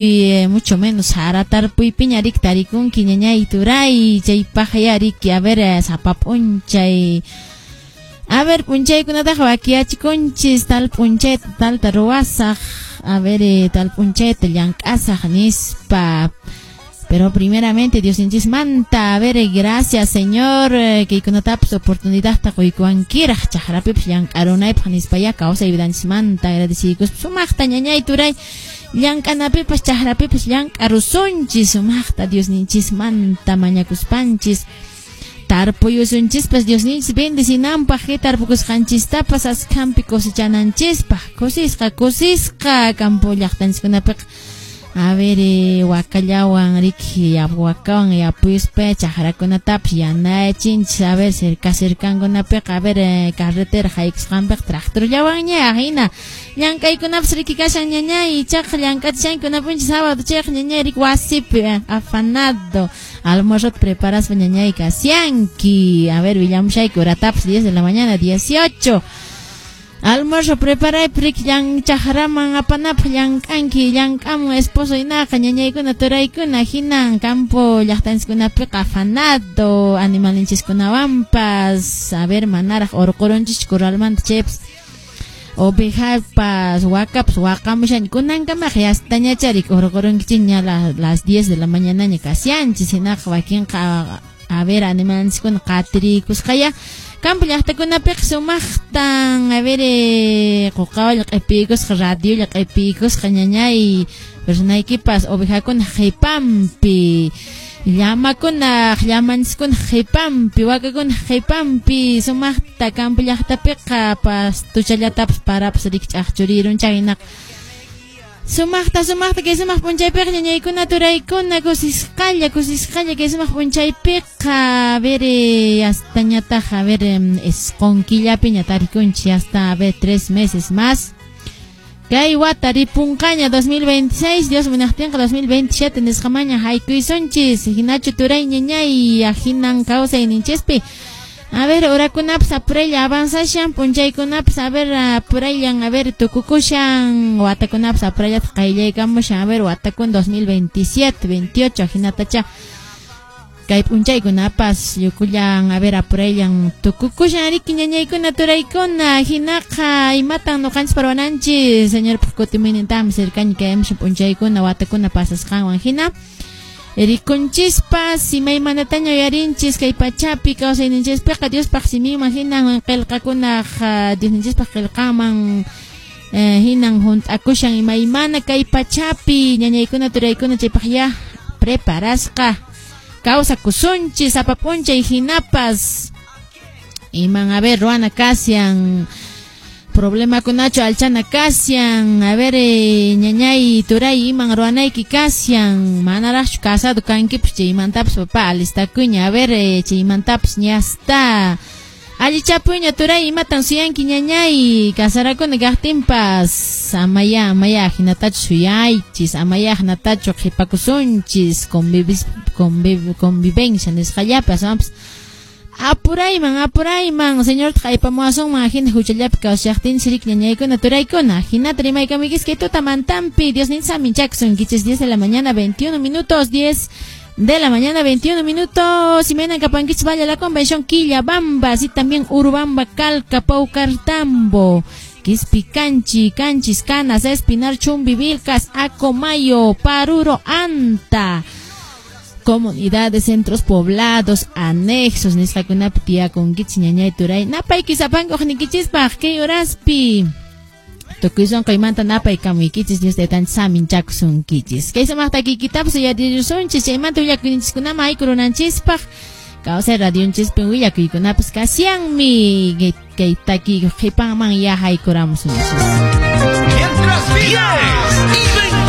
Mucho menos sara tarpuypiña riki tarikunki ñañay turay chaypaqya riki a ver sapa p'unchay a ver p'unchaykunataqa wakiyachikunchis tal p'unchayta talta ruwasaq a ver tal p'unchayta llank'asaq nispa. Pero primeramente Diosninchismanta, a ver, gracias, Señor, kaykunatapas oportunidadta quykuwankiraq chaqrapipas llank'arunaypaq nispaya kawsay vidanchismanta agradeciykuspa sumaqta ñañay turay llank'anapipas chaqrapipas llank'arusunchis sumaqta Diosninchismanta mañakuspanchis tarpuyusunchispas Diosninchis bendecinanpaq kay tarpukusqanchistapas askhampi cosechananchispaq kusisqa kusisqa campo llaqtanchiskunapiqa a ver, wakallawan riki wakawan yapuyuspa chaqrakunatapas yanachinchis a ver cerca cercankunapiqa a ver carretera haykusqanpiqa tractorllawanña hina llank'aykunapas riki kashan ñañay ichaqa llank'achishankunapunchis sábado chayqa ñañay riki wasipi afanado almuerzo preparaspa ñañay kasyanki. A ver, willamushayki horatapas 10 de la mañana 18 almuerzo preparaypi riki llan chaqraman apanapaq llank'anki llank'amun esposo hinaqa ñañaykuna turaykuna hinan campo llaqtanchiskunapiqa afanado animalninchiskunawanpas a ver manaraq urqurunchis corralmanta chaypas ovejapas wakapas waqamushan kunankamaqa yastañachari urqurunkichikña las 10 de la mañanaña kasyanchis hinaqa wakinqa a ver animalninchiskuna qatirikusqaya campo llaqtakunapiqa sumaqtan a ver quqawalla q'ipiykusqa radiolla q'ipiykusqa ñañay personaykipas ovejakuna qhipanpi llamakunaq llamanchiskuna qhipanpi wakakuna qhipanpi sumaqta campo llaqtapiqa pastuchallatapas parapas riki ch'aqchurirunchá hinaqa sumaqta sumaqta kay sumaq p'unchaypiqa ñañaykuna turaykuna kusisqalla kusisqalla kay sumaq p'unchaypiqa a ver hasta ñataq a ver isqun killapiña tarikunchis hasta a ver 3 meses más kay wata ripunqaña 2026 Dios munaqtinqa 2027 nisqamaña haykuysunchis hinachu turay ñañay ahinan kawsayninchispi. A ver, horakunapas apuraylla avanzashan, p'unchaykunapas a ver apurayllan, a ver tukukushan, watakunapas apurayllata qayllaykamushan, a ver watakuna 2027, 28 hinatacha kay p'unchaykunapas yukullan, a ver apurayllan tukukushan riki ñañaykuna turaykuna hinaqa imatan ñuqanchis parwananchis Señorpaq kutimuynintaqmi cercaña kaymushan p'unchaykuna watakuna pasasqanwan hina rikunchispas imaymanataña uyarinchis kay pachapi kawsayninchispiqa Diospaq siminman hinan qillqakunaq Diosninchispaq qillqanman hinan hunt'akushan imaymana kay pachapi ñañaykuna turaykuna chaypaq ya preparasqa kawsakusunchis sapa p'unchay hinapas iman a ver ruwana kasyan problemakunachu alchana kasyan a ver ñañay turay iman ruwanayki kasyan manaraqchu casado kankipas chaymantapas papá alistakuyña a ver chaymantapas ñasta allichapuyña turay imatan suyanki ñañay casarakuna kaqtinpas amaya amaya hinatachu suyaychis amaya hinatachu qhipakusunchis convivencia nisqallapi aswanpas apurayman apurayman Señor aypamuwasunman hina huchallapi kawsashaqtinchis riki ñañaykuna turaykuna hinata rimaykamuykichis kay tutamantampi Diosninchis aminchakusunkichis 10 de la mañana 21 minutos 10 de la mañana 21 minutos y mañana kapankichis vaya la convención Quillabamba así también Urubamba Calca Paucartambo Quispicanchi Canchis Canas Espinar Chumbivilcas Acomayo Paruro Anta comunidades, centros poblados, anexos, nisqakunapi tiyakunkichis ñañay turay napayki sapankuq nikichispaq kay horaspi tukuy sunquymanta napaykamuykichis Dios taytanchis saminchakusunkichis kay sumaq takiykitapas uyarirusunchis chaymanta willakuyninchiskunaman haykurunanchispaq kawsay radionchispi willakuykunapas kasyanmi kay takiy qhipanman ya haykuramusunchis. Mientras 10 y